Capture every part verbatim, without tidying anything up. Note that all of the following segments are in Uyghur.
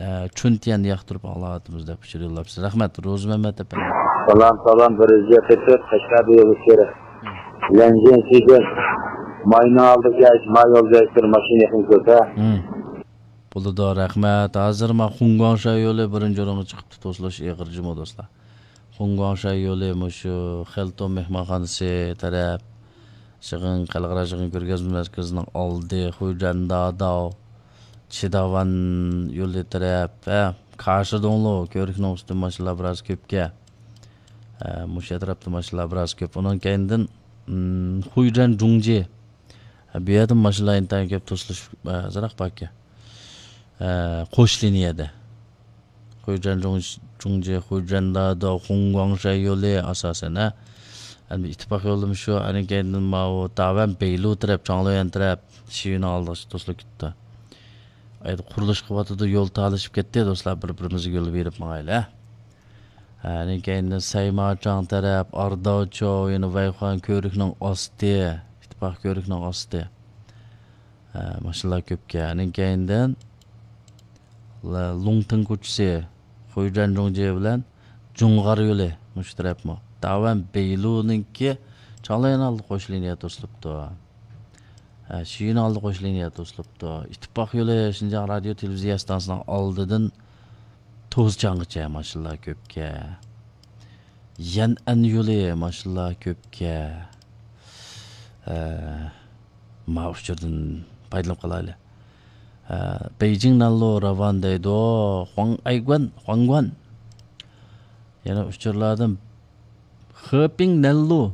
ئە، چۈنتيەننى ياقتۇرۇپ ئاڭلاۋاتىمىز دەپ ئۇچۇر يوللاپسىز. رەھمەت، روزى مەمەت ئەپەندى. سالام، سالام، بىر يۈز يەتتە تۆت، قەشقەردە يول ئۇچۇرى. لەنجىن سىدىن ماينىڭ ئالدىغا كەلسە، ما يولدا ئۆتكۈر ماشىنا يېقىن كۆرسە. ھىم. بولىدۇ، رەھمەت. ھازىر ما خۇڭگۇاڭشەي يولى بىرىنچى ئورۇنغا چىقىپتۇ، توسۇلۇش ئېغىر جۇمۇ دوستلار. خۇڭگۇاڭشەي يولى مۇشۇ خېلتون مېھمانخانىسى تەرەپ، شىغىڭ، خەلقئارا شىغىڭ كۆرگەزمە مەركىزىنىڭ ئالدى، خۇيجەن داداۋ، چىداۋان يولى تەرەپ، ھە، كاشىدوڭلۇ كۆۋرۈكنىڭ ئۈستىدە ماشىنىلار بىراز كۆپكەن. ھە، مۇشۇ ئەتراپتا ماشىنىلار بىراز كۆپ. ئۇنىڭ كەينىدىن، ئىم، خۇيجەن جۇڭجى. ھە، بۇ يەردىن ماشىنىلار ئىنتايىن كۆپ توسۇلۇش، ھە، ئازراق باركەن. ھە، قوش لىنىيەدە. خۇيجەن جۇڭ-، جۇڭجى، خۇيجەن داداۋ، خۇڭگۇاڭشەي يولى ئاساسەن، ھە. ئەمدى ئىتتىپاق يولىمۇ شۇ، ئاندىن كەينىدىن ماۋۇ داۋەن بەيلۇ تەرەپ، چاڭليۈەن تەرەپ، شىيۈنىڭ ئالدىغىچە توسۇلۇپ كېتىپتۇ. ئەيدە قۇرۇلۇش قىلىۋاتىدۇ، يول تالىشىپ كەتتى، دوستلار، بىر-بىرىمىزگە يول بېرىپ ماڭايلى، ھە. ئاندىن كەينىدىن سەيماچاڭ تەرەپ، ئارداۋچو، يەنە ۋەيخۇەن كۆۋرۈكنىڭ ئاستى، ئىتتىپاق كۆۋرۈكنىڭ ئاستى. ھە، ماشىنىلار كۆپكەن. ئاندىن كەينىدىن ل-، لۇڭتىڭ كوچىسى، خۇيجەن جۇڭجى بىلەن جۇڭغار يولى مۇشۇ تەرەپمۇ. داۋەن بەيلۇنىڭكى چاڭليۈەن ئالدى قوش لىنىيە توسۇلۇپتۇ. ھە، شىيۈن ئالدى قوش لىنىيە توسۇلۇپتۇ. ئىتتىپاق يولى شىنجاڭ رادىيو تېلېۋىزىيە ئىستانسىسىنىڭ ئالدىدىن توزچاڭغىچە ماشىنىلار كۆپكەن. يەنئەن يولى ماشىنىلار كۆپكەن. ھە، ما ئۇچۇردىن پايدىلىنىپ قالايلى. ھە، بېيجىڭ نەنلۇ راۋان دەيدۇ. خۇاڭئەيگۇەن، خۇاڭگۇەن. يەنە ئۇچۇرلاردىن خېپىڭ نەنلۇ،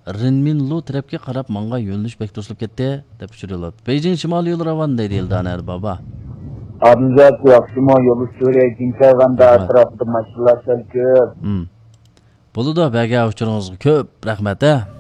رىنمىنلۇ تەرەپكە قاراپ ماڭغان يۆنىلىش بەك توسۇلۇپ كەتتى، دەپ ئۇچۇر يوللاپتۇ. بېيجىڭ شىمالىي يول راۋان دەيدۇ ئىلدانە ئەربابا. ئادىلجان، ياخشىمۇ؟ يول ئۇچۇرى جىنكايغاندا ئەتراپىدا ماشىنىلار سەل كۆپ. ھىم. بولىدۇ، بەرگەن ئۇچۇرىڭىزغا كۆپ رەھمەت، ھە.